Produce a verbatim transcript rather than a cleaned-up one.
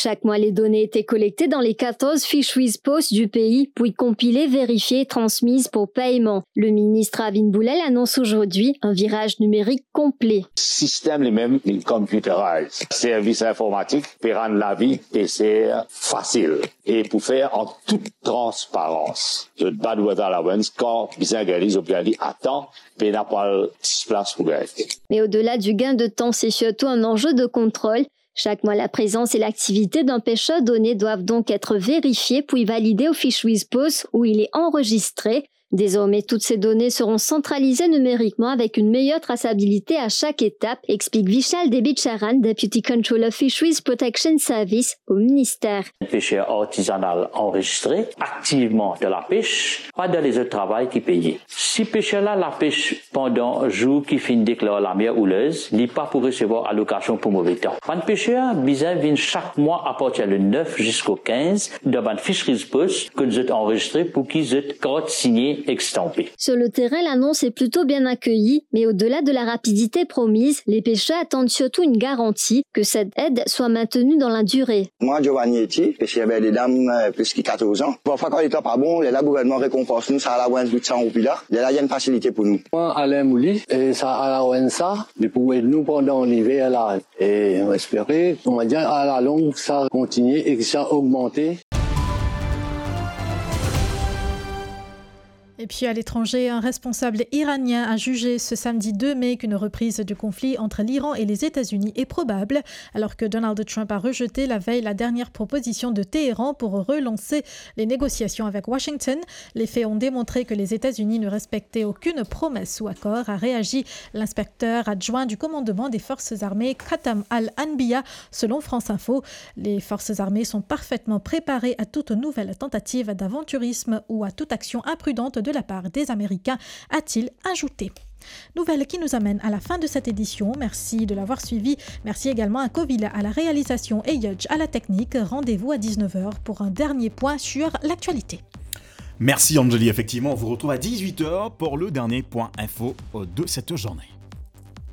Chaque mois, les données étaient collectées dans les quatorze fisheries posts du pays, puis compilées, vérifiées et transmises pour paiement. Le ministre Arvind Boulel annonce aujourd'hui un virage numérique complet. Sistem li mem, li computerized. Servis informatik pe rann lavi pesier fasil. E pou fer an tout transparans. Zot bann weather allowance, kan bizin gagn li, zot gagn li atan, pena pral ti plas pou gagn. Mais au-delà du gain de temps, c'est surtout un enjeu de contrôle. Chaque mois, la présence et l'activité d'un pêcheur donné doivent donc être vérifiées puis validées au Fisheries Post où il est enregistré. Désormais, toutes ces données seront centralisées numériquement avec une meilleure traçabilité à chaque étape, explique Vishal Debicharan, Deputy Controller Fisheries Protection Service au ministère. Pêcheur artisanal enregistré, activement dans la pêche, pas dans les autres travail ki peye. Si pêcheur la la pêche pandan zour ki finn deklar lamer houleuse, li pa pou resevwar alokasion pou move tan. Bann pêcheur bizin vinn chak mwa apartir le neuf ziska kinz dan bann Fisheries Post kot zot anrezistre pou ki zot kart signe ek stanpe. Sur le terrain, l'annonce est plutôt bien accueillie, mais au-delà de la rapidité promise, les pêcheurs attendent surtout une garantie que cette aide soit maintenue dans la durée. Mwa Giovanni Eti, pesier ber dedam, euh, plis ki katorz an. Parfwa kan letan pa bon, lerla gouvernman rekonpans nou sa allowance de san roupi la, lerla li enn fasilite pou nou. Mwa Alain Mouli, e sa allowance sa, li pou ed nou pandan liver la. E nou espere, koumadir, a la long, sa kontigne e ki sa ogmante. Et puis à l'étranger, un responsable iranien a jugé ce samedi deux mai qu'une reprise du conflit entre l'Iran et les États-Unis est probable, alors que Donald Trump a rejeté la veille la dernière proposition de Téhéran pour relancer les négociations avec Washington. Les faits ont démontré que les États-Unis ne respectaient aucune promesse ou accord, a réagi l'inspecteur adjoint du commandement des forces armées, Khatam Al-Anbiya, selon France Info. Les forces armées sont parfaitement préparées à toute nouvelle tentative d'aventurisme ou à toute action imprudente de la part des Américains, a-t-il ajouté. Nouvelle qui nous amène à la fin de cette édition. Merci de l'avoir suivi. Merci également à Covila à la réalisation et Yudge à la technique. Rendez-vous à dix-neuf heures pour un dernier point sur l'actualité. Merci Anjali. Effectivement, on vous retrouve à dix-huit heures pour le dernier point info de cette journée.